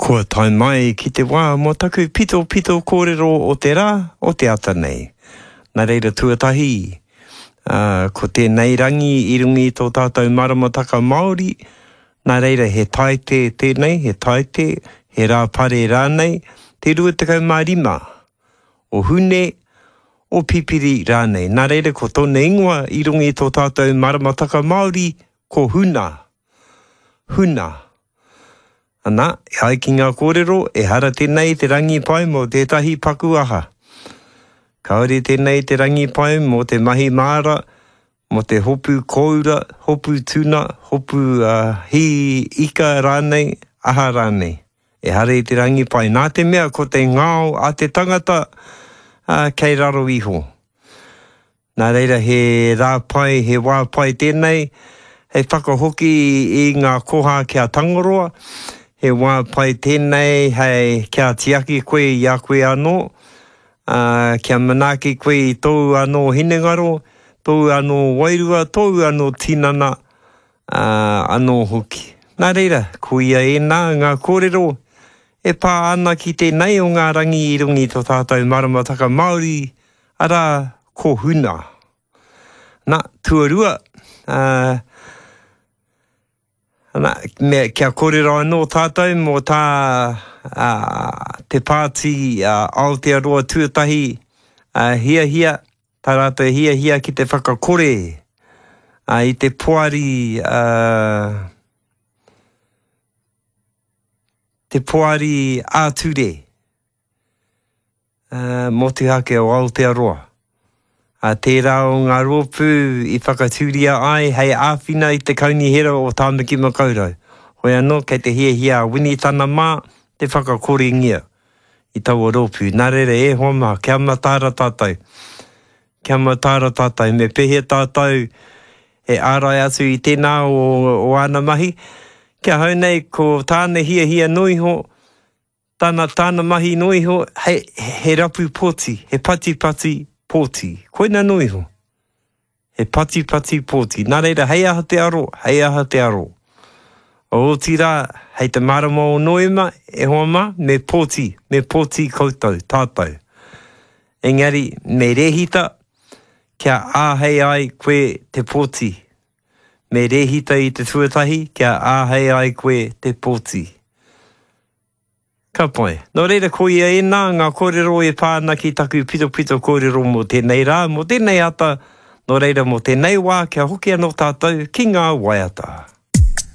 Kua tae mai ki te wā mō taku pitopito kōrero o te rā, o te ata nei. Nā reira tuatahi, ā, ko tēnei rangi i runga i tō tātou maramataka Māori, nā reira he Taite tēnei, he Taite, he Rāpare rānei, te 25 o Hune, o Pipiri rānei. Nā reira ko tōna ingoa i runga i tō tātou maramataka Māori, ko Huna. Huna. Ana, e ai ki ngā kōrero, ehara tēnei i te rangi pai mō tētahi paku aha. Kāore tēnei i te rangi pai mō te mahi māra, mō te hopu kōura, hopu tuna, hopu uh, hī ika rānei, aha rānei. Ehara i te rangi pai, nā te mea ko te ngao a te tangata uh, kei raro iho. Nā reira he rā pai, he wā pai tēnei hei whakahoki i ngā koha ki a Tangaroa, he wā pai tēnei hei kia tiaki koe i a koe anō, ā, kia manaaki koe i tōu anō hinengaro, tōu anō wairua, tōu anō tinana, ā, anō hoki. Nā reira, koia ēnā ngā kōrero e pā ana ki tēnei o ngā rangi i runga i tō tātou maramataka Māori, arā, ko Huna. Nā, tuarua, ā, ana, me, kia kōrero anō tātou mō tā ā, te pāti ā, Aotearoa Tuatahi ā, hiahia, tā rātou hiahia ki te whakakore ā, i te poari, ā, te poari ā-ture. Motuhake o Aotearoa. Ā, tērā o ngā rōpū i whakatūria ai hei āwhina i te Kaunihera o Tāmaki Makaurau. Hoi anō, kei te hiahia a Winitana mā te whakakorengia i taua rōpū. Nā reira, e hoa mā, kia mataara tātou. Kia mataara tātou. Me pēhea tātou e ārai atu i tēnā o, o āna mahi? Ki ahau nei, ko tāna hiahia noa iho, Tāna, tāna mahi noa iho, hei, he rapu pōti, he patipati pōti. Koina noa iho. He patipati pōti. Nā reira, hei aha te aro, hei aha te aro. Otirā, hei te marama o Noema, e hoa mā, me pōti, me pōti koutou, tātou. Engari, me rēhita, kia āhei ai koe te pōti. Me rēhita i te tuatahi, kia āhei ai koe te pōti. Ka pai. Nō reira, koia ēnā ngā kōrero e pā ana ki taku pitopito kōrero mō tēnei rā, mō tēnei ata, nō reira mō tēnei wā kia hoki anō tātou ki ngā waiata.